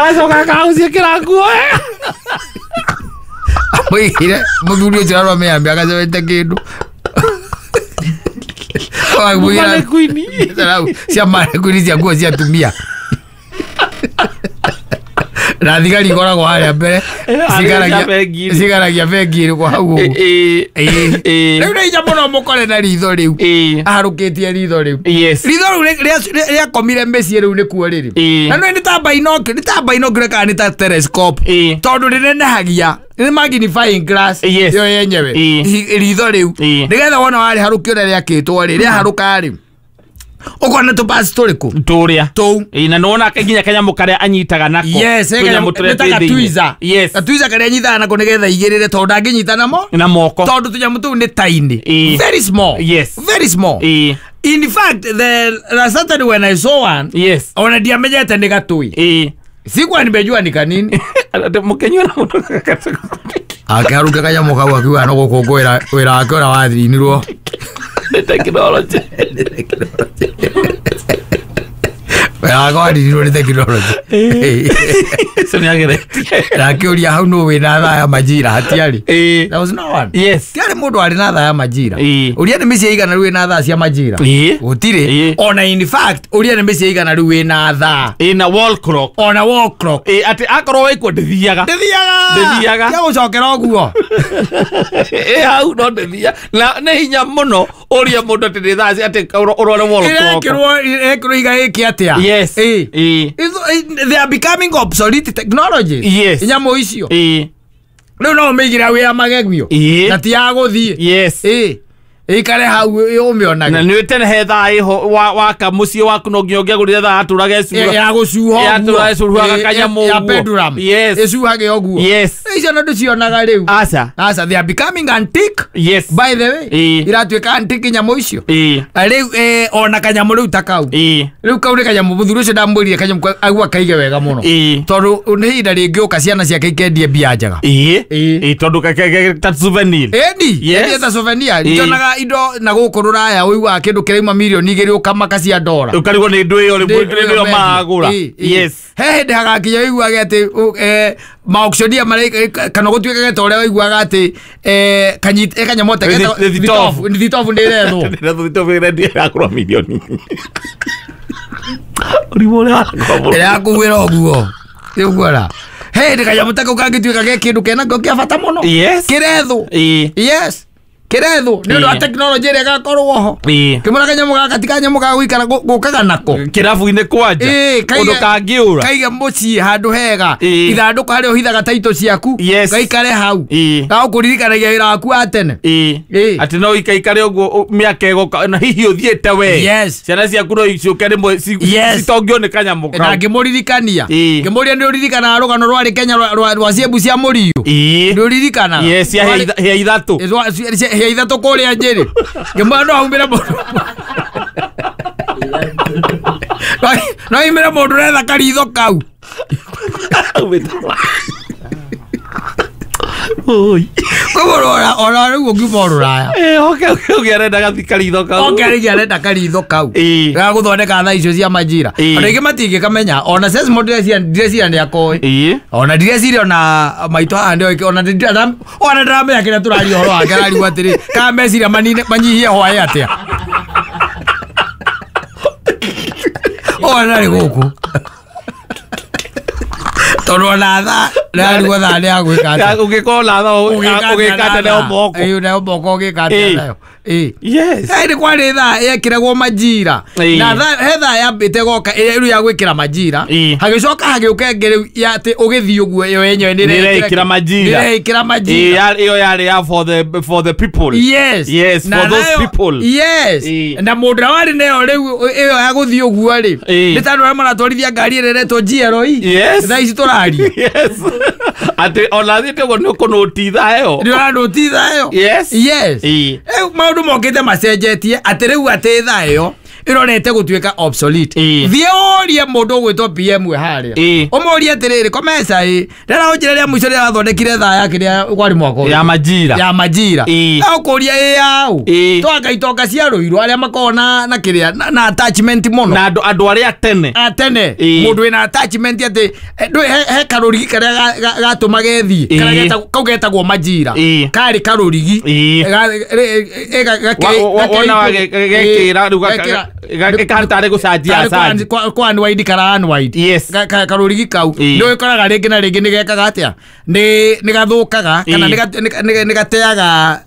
Agacoka akagũciĩkĩra nguo. Amũigire mũthuri ũcio arwa mĩambia agacemete kĩndũ. Mannequin. Cia mannequin cia nguo cia atumia. Na thigari ikoragwo harĩa mbere Harĩa bengi-inĩ. cigaragia bengi ĩrĩkũ hau ũguo. Rĩu nĩ hinya mũno mũkore na ritho rĩu aharũkĩtie ritho rĩu. Ritho rĩu rĩakomire mĩciĩ rĩu nĩkuo rĩrĩ. Na nĩ ta binocular, nĩ ta binocular kana nĩ ta telescope. Tondũ rĩnenehagia nĩ magnifying glass yo yenyewe. Ritho rĩu nĩgetha wona warĩharũkia ũrĩa rĩakĩtwo rĩ rĩaharũka rĩ ũkona tũbasi tũrĩkũ Tũrĩa. tũu. Na nĩwona nginya kanyamũ karĩa anyitaga nako. Yes, Tũnyamũ tũrĩa nĩ ta twĩ thĩinĩ. gatwiza. Gatwiza karĩa anyitaga nako nĩgetha igĩrĩre tondũ ndangĩnyita namo Na moko. tondũ tũnyamũ tũu nĩ tiny. Very small. Very small. In fact, the last Saturday when I saw one, ona ndiamenyete nĩ gatui. Sikuwa nimejua ni kanini. Mũkĩnyua na mũndũ. Akĩharũkia kanyamũ kau akiuga no gũkũngũĩra wĩra wake ũrĩa wathirinirwo. Nĩ tekinoronjĩ. Wĩra wake wathirinirwo nĩ tekinoronjĩ. Ũcio nĩageretie. Na akĩũria hau nũ wĩna thaa ya majira hatiarĩ. There was no one. Tiarĩ mũndũ warĩ na thaa ya majira. Ũria nĩ mĩciĩ igana rĩu ĩna thaa cia majira. Gũtirĩ. Ona in fact ũria nĩ mĩciĩ igana rĩu ĩna thaa. Na wall clock. Ona wall clock. Atĩ akorwo wĩkuo ndĩthiaga. Ndĩthiaga. Ndĩthiaga. Tia gũcokera ũguo. Hau no ndĩthiaga. Na nĩ hinya mũno ũrie mũndũ atĩ nĩ thaa atĩ ũrore wall clock. Ĩrekĩrwo iga ĩke atĩa. They are becoming obsolete technologies. Nyamũ icio. Rĩu no ũmĩigĩre wĩra magegio. Na ti ya gũthiĩ. Ĩikare hau ũmĩonage. Na nĩ tene he thaa ĩho waka mũciĩ waku no nginya ũngĩagũrire thaa yatũraga ĩcuha. Ya gũcuha Yatũraga ĩcuhaga kanyamũ ya ũguo. pendulum. Ĩcuhage ũguo. Icio no ndũcionaga rĩu. Aca. Aca, they are becoming antique. By the way, iratuĩka antique nyamũ icio. Rĩu ona kanyamũ rĩu ta kau. Rĩu kau nĩ kanyamũ mũthuri ũcio ndamwĩrire kanyamũ agua kaige wega mũno. Tondũ nĩ ihinda rĩngĩũka ciana ciake ikendie mbia njega. Tondũ ta souvenir. Ĩni, endie ta souvenir. Njonaga indo na gũkũ rũraya ũiguaga kĩndũ kĩrauma mirioni igĩrĩ ũkamaka cia ndora. Ũkarigwo nĩ ndũ ĩyo rĩmwe maragũra. He hĩndĩ hagakinya ũiguage atĩ maauctionia marĩa kana gũtuĩkage ta ũrĩa waiguaga atĩ kanyamũ ta thitobu nĩ ĩrethwo. Thitobu ĩrendio ĩragũrwo mirioni. Ũrimũ ũrĩa warakũra. Ĩrakũgwĩra ũguo. Ũguo he hĩndĩ kanyamũ ta kau kangĩtuĩka ge kĩndũ kenakĩo kĩa bata mũno. Kĩrethwo. Kĩrethwo nĩ ũndũ wa tekinoronjĩ ĩrĩa ĩgakorwo ho. Kĩmũra kanyamũ gaka ti kanyamũ ga gũikara gũkaga nako. Kĩrabu-inĩ kwanja. Ũndũ kangĩũra. Kaige mũciĩ handũ hega. Ithandũkũ harĩa ũhithaga taito ciaku. Gaikare hau. Gagũkũririkanagia wĩra waku wa tene. Atĩ no ikaikare ũguo mĩaka ĩgoka na hihi ũthiĩte we. Ciana ciaku no icoke rĩmwe citongio nĩ kanyamũ kau. Na ngĩmũririkania. Ngĩmũria nĩ ũririkanaga rũgano rwarĩ Kenya rwa ciembu cia mũriũ. Nĩ ũririkanaga? Yes, cia hĩa ithatũ. Hĩa ithatũ kũrĩa Njĩrĩ. Ngĩmwĩra no aumĩre mũndũ. No aumĩre mũndũ ũretha karitho kau. Koguo ona rĩu ũngiuma rũraya. Oke arenda gathi karitho kau. Oke rĩngĩ arenda karitho kau. Ga gũthondeka thaa icio cia majira. Ona ingĩ matingĩkamenya. Ona Sesmo ndireciria nĩ akoĩ. Ona ndireciria ona maitũ haha nĩoĩ ona ona ndĩramenya kĩrĩa tũraria ũhoro wake arariuga atĩrĩ kana meciria manine manyihie hwaĩ atĩa. Ona ndarĩ gũkũ. Tondũ ona thaa nĩararigwo thaa nĩ ya gwĩka atĩa. Ũngĩkorwo na thaa ũgĩka atĩa nayo moko. Nayo moko ũgĩka atĩa nayo. Nĩ kwarĩ thaa yekĩragwo majira. Na he thaa yambĩte goka ĩrĩa rĩu ya gwĩkĩra majira. Hagĩcoka hagĩũka ĩngĩ rĩu ya atĩ ũgĩthiĩ ũguo ĩyo yenyewe nĩ ĩrekĩra majira. Nĩ ĩrekĩra majira. Ĩyo yarĩ ya for the people. Yes, for those people. Na mũndũ ũrĩa warĩ nayo rĩu ĩyo ya gũthiĩ ũguo rĩ nĩ ta andũ arĩa maratwarithia ngari ĩrĩa ĩretwo GLE. Thaa ici tũraria. Atĩ ona thiĩte ũguo nĩ ũkũnũti thaa ĩyo. Nĩ ũranũti thaa ĩyo. Rĩu maũndũ mokĩte macenjetie atĩ rĩu atĩ thaa ĩyo Ĩrorete gũtuĩka obsolete. Thiĩ ũrie mũndũ ũgwĩtwo PM harĩa. Ũmũrie atĩrĩrĩ Komesa ĩ ndĩra ũnjĩre rĩa mũico rĩrĩa wathondekire thaa ya kĩrĩa kwarĩ mwaka ya Majira. Ya Majira. Ũkũria ĩ yaũ. Twanga itonga cia Rũirũ arĩa makoragwo na kĩrĩa na attachment mũno. Na andũ arĩa tene. A tene. Mũndũ wĩna attachment atĩ he karũrigi karĩa gatũmaga ĩthiĩ. Karĩa kau getagwo Majira. Karĩ karũrigi. Wona wagekĩra rĩu gakĩra gũcanjia acanji. Kwa unwind kana unwind. Yes. Karũrigi kau. Nĩ ũkoraga rĩngĩ na rĩngĩ nĩ gekaga atĩa? Nĩ gathũkaga kana nĩ gateaga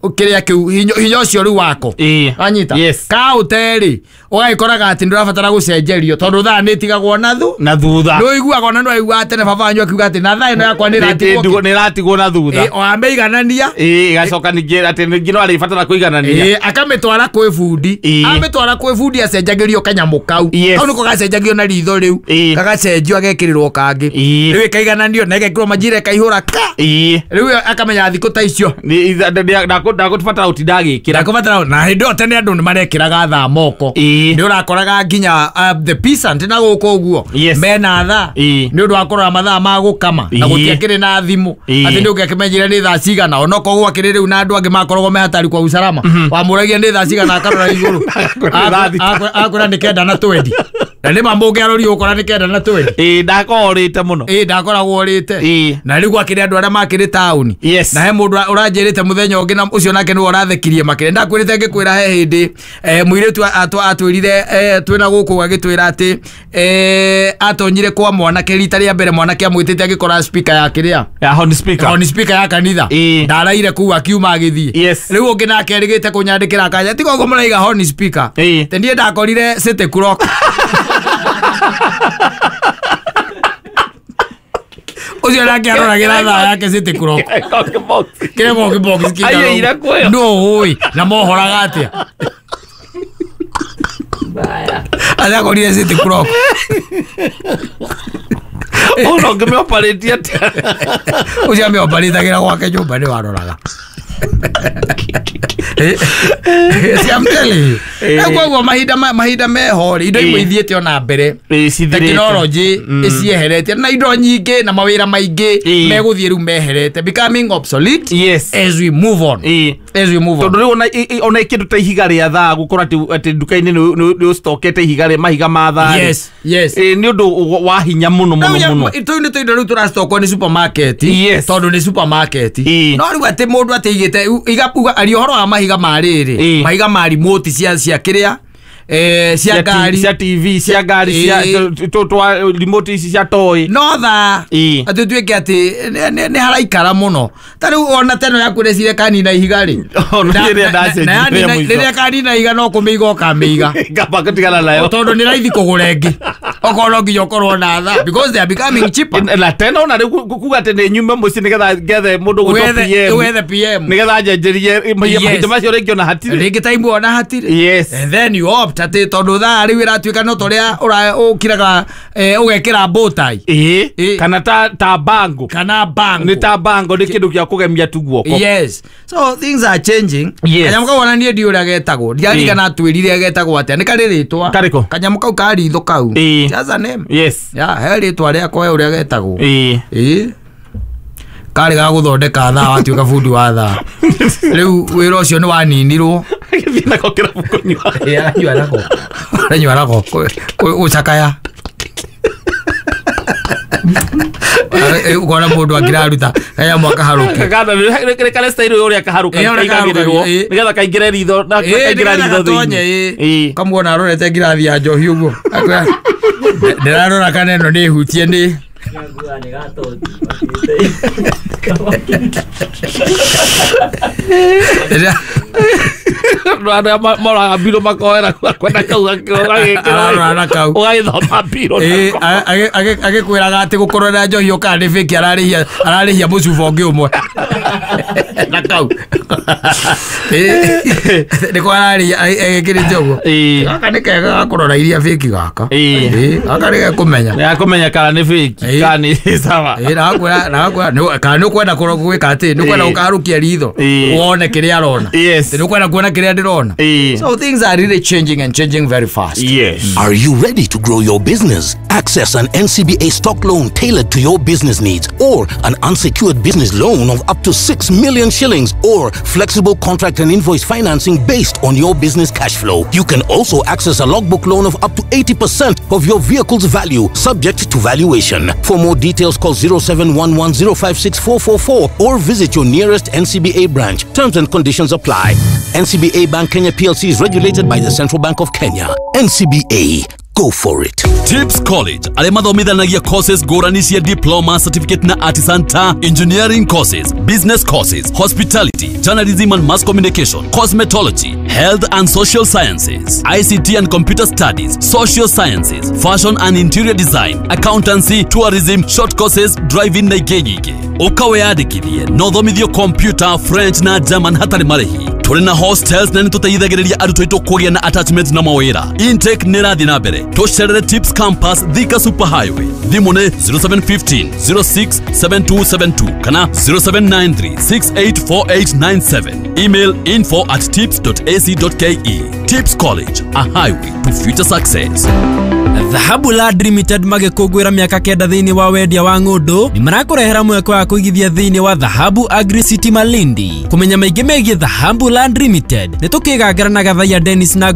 kĩrĩa kĩu hinya ũcio rĩu wako. Wanyita? Kaũte-rĩ ũgagĩkoraga atĩ ndũrabatara gũcenjerio tondũ thaa nĩ ĩtigagwo na thutha. Nĩ ũiguaga ona nĩ waiguaga tene baba wanyu akiuga atĩ na thaa ĩno yakwa nĩ ĩratigwo na thutha. O amĩiganania. Ĩgacoka ningĩ atĩ ningĩ no arĩbatara kũiganania. Akamĩtwara kwĩ bundi. Amĩtwara kwĩ bundi acenjagĩrio kanyamũ kau. Kau nĩko gacenjagio na ritho rĩu. Gagacenjio agekĩrĩrwo kangĩ. Rĩu ĩkaigananio na ĩgekĩrwo Majira ĩkaihũra ka. Rĩu akamenya thikũ ta icio. Ndakũbatara gũtinda agĩkĩra. Ndakũbatara na hĩndĩ ĩyo tene andũ nĩ marekĩraga thaa moko. Nĩ ũrakoraga nginya the peasant na gũkũ ũguo mena thaa nĩ ũndũ wa kũrora mathaa ma gũkama na gũtiakĩrĩ na thimũ atĩ nĩ ũngĩakĩmenyire nĩ thaa cigana onokorwo gwakĩrĩ rĩu na andũ angĩ makoragwo me hatari kwa usalama wamũragia nĩ thaa cigana akarora igũrũ akwĩra nĩ 9:20 na nĩ ma mũngĩarori ũkora nĩ 9:20. Ndakorwo ũrĩte mũno. Ndakoragwo ũrĩte. Na rĩu gwakĩrĩ andũ arĩa makĩrĩ taũni. Na he mũndũ ũranjĩrĩte mũthenya ũngĩ na ũcio nake nĩwe ũrathekirie makĩria. Ndakwĩrĩte ngĩkwĩra he hĩndĩ mũirĩtu atwĩrire twĩna gũkũ agĩtwĩra atĩ atonyire kwa mwanake rita rĩa mbere mwanake amwĩtĩte agĩkora speaker ya kĩrĩa ya horn speaker. Horn speaker ya kanitha. Ndaraire kũu akiuma agĩthiĩ. Rĩu ũngĩ nake erĩgĩte kũnyandĩkĩra akanja tiga ũguo mũraiga horn speaker. Te niĩ ndakorire city clock. Ũcio nake aroragĩra thaa yake city clock. Kĩrĩa box kĩigana. No ũĩ na mohoraga atĩa. Arakorire city clock. Ona ũngĩmĩoparĩtie atĩa. Ũcio amĩoparĩtagĩra gwake nyũmba nĩ waroraga. See, I'm telling you. Koguo mahinda meho rĩ indo imwe ithiĩte ona mbere. Technology ĩcieherete na indo nyingĩ na mawĩra maingĩ megũthiĩ rĩu meherete becoming obsolete. Yes. As we move on. As we move on. Tondũ rĩu ona kĩndũ ta ihiga rĩa thaa gũkorwo atĩ nduka-inĩ nĩ ũcitokete ihiga rĩa mahiga ma thaa. Yes. Yes. Nĩ ũndũ wa hinya mũno mũno mũno. Tũu nĩ tũindo rĩu tũracitokwo nĩ supermarket. Tondũ nĩ supermarket. No rĩu atĩ mũndũ atĩ igĩte igapuga ari ũhoro wa mahiga ma rĩrĩ mahiga ma remote cia kĩrĩa cia ngari cia TV cia ngari cia twa remote ici cia toy no thaa atĩ tuĩke atĩ nĩ haraikara mũno ta rĩu ona teno yaku rĩcire kanina ihiga rĩ rĩrĩa kanina ihiga no kũmĩiga ũkamĩiga ngamba gũtigana nayo tondũ nĩ raithi kũgũra ĩngĩ okorwo no nginya ũkorwo na thaa because they are becoming cheaper na tena ona rĩu kuga atĩ nĩ nyume mũciĩ nĩgetha ngethe mũndũ gwĩtwo PM wethe PM nĩgetha njenjerie mahinda macio rĩngĩ ona hatirĩ rĩngĩ time ona hatirĩ. Yes. And then you opt atĩ tondũ thaa rĩu ĩratuĩka no torĩa ũkiraga ũgekĩra bow tie kana ta bango kana bango nĩ ta bango nĩ kĩndũ gĩa kũgemia tu guoko. Yes. So things are changing. Kanyamũ kau ona niĩ ndiũĩ ũrĩa getagwo ndiaririkana atwĩrire getagwo atĩa nĩ karĩ rĩtwa karĩkũ kanyamũ kau ka ritho kau. It has a name. Yes. Yeah, he rĩtwa rĩako he ũrĩa getagwo. Karĩ ga gũthondeka thaa watuĩka bundi wa thaa. Rĩu wĩra ũcio nĩ waninirwo. Agĩthiĩ nako kĩrabu kũnyua. Aranyua nako. Aranyua nako gũcakaya. Ukona mũndũ akĩraruta kanyamũ akaharũkia. Kana nĩ karĩ style ũrĩa kaharũka kaigagĩrĩrwo nĩgetha kaingĩre ritho na kaingĩra ritho thĩinĩ. Kamuona arorete ngirathi ya njohi ũguo. Ndĩrarora kana ĩno nĩ hutie nĩ Andũ moraga mbirũ makoera kwenda kau ararora kau ũgagĩthoma mbirũ agĩkwĩraga atĩ gũkorwo njohi ũkaga nĩ fake ararĩhia mũcuba ũngĩ ũmwe na kau nĩko ararĩhia egĩkĩrĩte ũguo gaka nĩ kega ga kũrora iria fake gaka gaka nĩ gekũmenya nĩ akũmenya kana nĩ fake Kani sawa. Na kana nĩ ũkwenda gwĩka atĩ nĩ ũkwenda gũkaharũkia ritho wone kĩrĩa arona, nĩ ũkwenda kuona kĩrĩa ndĩrona. So things are really changing and changing very fast. Yes. Are you ready to grow your business? Access an NCBA stock loan tailored to your business needs, or an unsecured business loan of up to 6 million shillings, or flexible contract and invoice financing based on your business cash flow. You can also access a logbook loan of up to 80% of your vehicle's value, subject to valuation. For more details, call 0711056444 or visit your nearest NCBA branch. Terms and conditions apply. NCBA Bank Kenya PLC is regulated by the Central Bank of Kenya. NCBA. Go for it. Tips College arĩa mathomithanagia courses ngũrani cia diploma, certificate na artisan ta engineering courses, business courses, hospitality, journalism and mass communication, cosmetology, health and social sciences, ICT and computer studies, social sciences, fashion and interior design, accountancy, tourism, short courses, driving na ingĩ nyingĩ. Ũka wĩyandĩkithie na ũthomithio computer, French na German hatarĩ marĩhi. Tũrĩ na hostels na nĩtũteithagĩrĩria arutwo aitũ kũgĩa na attachment na mawĩra. Intake nĩ ĩrathiĩ na mbere. Tũcerere Tips Campus, Thika Super Highway. Thimũ nĩ 0715 06 7272 kana 0793 684897. Email info@tips.ac.ke. Tips College, a highway to future success. Dhahabu Land Limited magĩkũngũĩra mĩaka 9 thĩinĩ wa wendia wa ng'ũndũ nĩ marakũrehera mweke wa kũigithia thĩinĩ wa Dhahabu Agri City Malindi. Kũmenya maingĩ megiĩ Dhahabu Land Limited nĩ tũkĩgangara na Gathaiya Dennis Nangoni.